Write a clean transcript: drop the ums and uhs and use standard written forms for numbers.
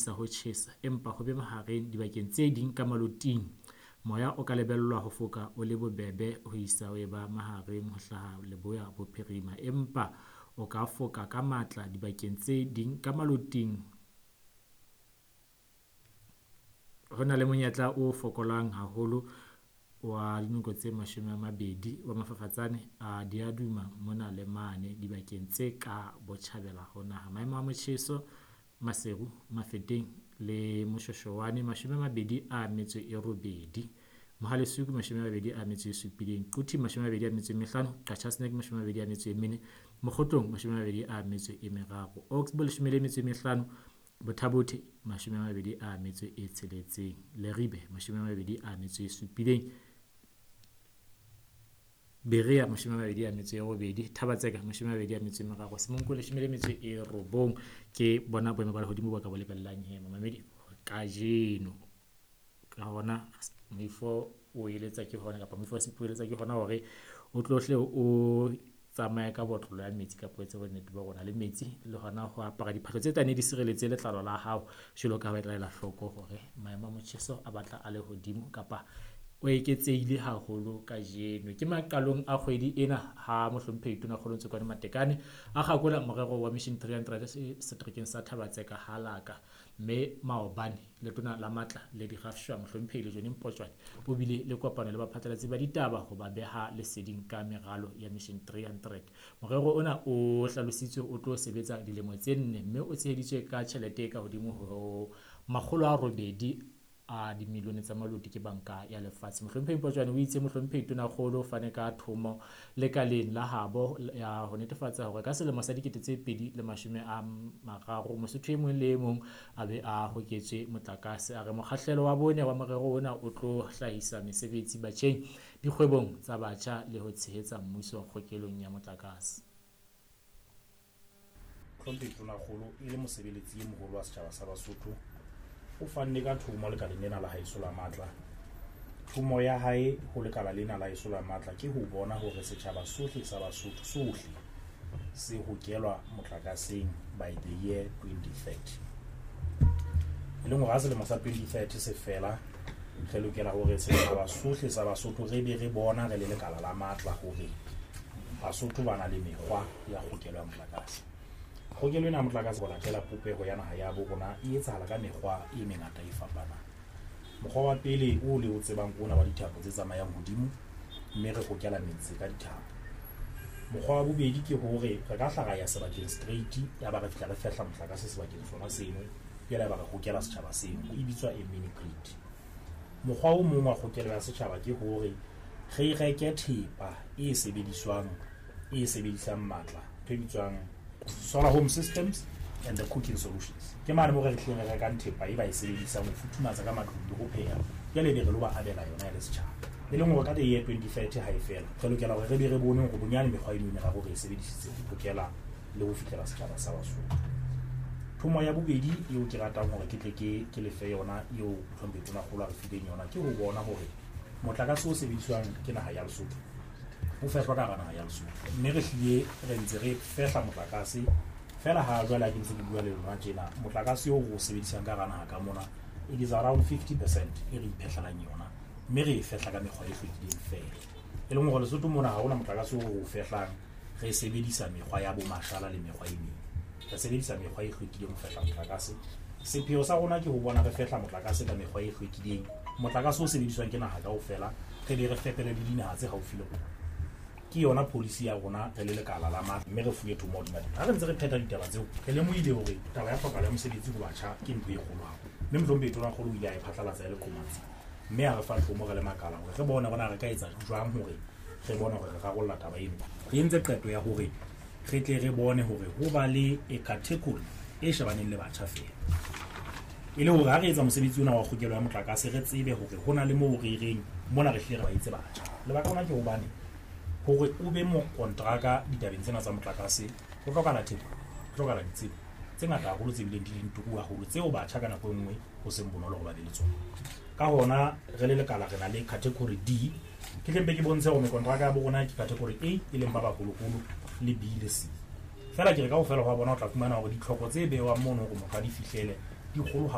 Isa ho tjhesa empa ho be mahareng dibakeng tse ding ka maloting. Moya o ka lebellwa ho foka o le bobebe ho isa ho eba mahareng ho hlaha leboya-bophirima empa o ka foka ka matla dibakeng tse ding ka maloting. Ho na le monyetla o fokolang haholo wa dinoko tse 20 wa mafafatsane a diaduma mona le mane dibakeng tse ka botjhabela ho naha. Maemo a motjheso Maseru, Mafeteng le Moshweshwane 28, Mohale'shoek 27, Quthing 25, Qacha's Nek 24, Mokhotlong 23, Oxbow 15, Botha-Bothe 26, Leribe 27, Berea 28, Thaba-Tseka 23, Semonkong 19. Ke bona boemo ba lehodimo bo ka bo lebellang he mamamedi kajeno. Ka hona moifo o eletsa ke hona kapa moifo wa sepu o eletsa ke hona hore o tlohle o tsamaye ka botlolo ya metsi kapa o etse bonnete ba rona le metsi le hona ho apara diphahlo tse tla di sireletse letlalo la hao jwalo ka ha ba tla ela hloko hore maemo a motjheso a batla a le hodimo kapa o eketsehile haholo kajeno. Ke maqalong a kgwedi ena ha mohlomphehi Tonakgolo Ntsokoane Matekane a kgakola morero wa Mission 300 seterekeng sa Thaba-Tseka Halaka. Mme maobane letona la matla le dirafshwa mohlomphehi Lejone Mpotjwane o bile le kopano le baphatlalatsi ba ditaba ho ba beha leseding ka meralo ya Mission 300. Morero ona o hlalositswe o tlo sebetsa dilemo tse nne mme o tsheheditswe ka tjhelete e ka hodimo ho 800 a dimilione tsa maloti ke Banka ya Lefatshe. Mohlomphehi Mpotjwane o itse mohlomphehi Tonakgolo o fane ka thomo lekaleng la habo ya ho netefatsa hore ka selemo sa 2030 Mosotho e mong le e mong a be a hoketswe motlakase. A re mokgahlelo wa bone wa morero ona o tlo hlahisa mesebetsi batjheng, dikgwebong tsa batjha le ho tshehetsa mmuso kgokelong ya motlakase. Mohlomphehi Tonakgolo e le mosebeletsi e moholo wa setjhaba sa Basotho o fanne ka thomo lekaleng lena la haeso la matla. Thomo ya hae ho lekala lena la haeso la matla ke ho bona hore setjhaba sohle sa Basotho sohle se hokelwa motlakaseng by the year 2030. E leng hore ha selemo sa 2030 se fela, re lokela hore setjhaba sohle sa Basotho re be re bona re le lekala la matla hore Basotho ba na le mekgwa ya kgokelo ya motlakase. Kgokelo ena ya motlakase ho latela popeho ya naha ya bo rona e etsahala ka mekgwa e mengata e fapanang. Mokgwa wa pele o le o tsebang ke ona wa dithapo tse tsamayang hodimo mme re hokela metse ka dithapo. Mokgwa wa bobedi ke hore re ka hla ra ya sebakeng straight ya ba re fihla re fehla motlakase sebakeng sona seno, jwale ya ba re hokela setjhaba seno. E bitswa a mini grid. Mokgwa o mong wa kgokelo ya setjhaba ke hore re reke thepa e sebediswang e sebedisang matla, ntho e bitswang solar home systems and the cooking solutions. Ke mane moo re hlileng re rekang thepa e ba e sebedisang ho futhumatsa ka matlung le ho pheha, jwale ebe re lo ba abela yona e le setjhaba. E leng hore ka the year 2030 ha e fela, re lokela hore re be re bone hore bonyane mekgwa eno e meraro re e sebedisitse ho hokela le ho fihlela setjhaba sa Basotho. Thomo ya bobedi eo ke ratang hore ke tle ke lefe yona eo mohlomphehi Tonakgolo a re fileng yona ke ho bona hore motlakase o sebediswang ke naha ya Lesotho o fehlwa ka hara naha ya Lesotho. Mme re hlile re ntse re fehla motlakase fela ha jwale ha ke ntse ke bua le lona tjena, motlakase oo re o sebedisang ka hara naha ka mona it is around 50% e re iphehlelang yona, mme re e fehla ka mekgwa e hlwekileng feela. E leng hore Lesotho mona ha hona motlakase oo re o fehlang re sebedisa mekgwa ya bo mashala le mekgwa e meng. Re sebedisa mekgwa e hlwekileng ho fehla motlakase. Sepheo sa rona ke ho bona re fehla motlakase ka mekgwa e hlwekileng, motlakase o sebediswang ke naha kaofela, re be re fepele le dinaha tse haufi le rona. Ke yona policy ya rona re le lekala la matla, mme re fuwe thomo hodima teng. Ha re ntse re phetha ditaba tseo, re lemohile hore taba ya tlhokahalo ya mosebetsi ho batjha ke ntho e kgolo haholo. Mme mohlomphehi Tonakgolo o ile a e phatlalatsa e le qomatsi, mme a re fa thomo re le makala hore re bone hore na re ka etsa jwang hore re bone hore re rarolla taba eno. Re entse qeto ya hore re tle re bone hore ho ba le a category e shebaneng le batjha feela, e le hore ha re etsa mosebetsi ona wa kgokelo ya motlakase re tsebe hore ho na le moo re reng mona re hlile re ba etse batjha. Lebaka lona ke hobane hore o be mokontraka ditabeng tsena tsa motlakase ho hlokahala thepa, ho hlokahala ditsebo tse ngata haholo tse bileng di leng turu haholo, tseo batjha ka nako e nngwe ho seng bonolo hore ba be le tsona. Ka hona re le lekala re na le category D. Ke tle mpe ke bontshe hore mekontraka ya bo rona ke category A, e leng ba baholoholo, le B le C. Feela ke re kaofela hwa bona o tla fumana hore ditlhoko tse bewang mono hore motho a di fihlele di kgolo haholo.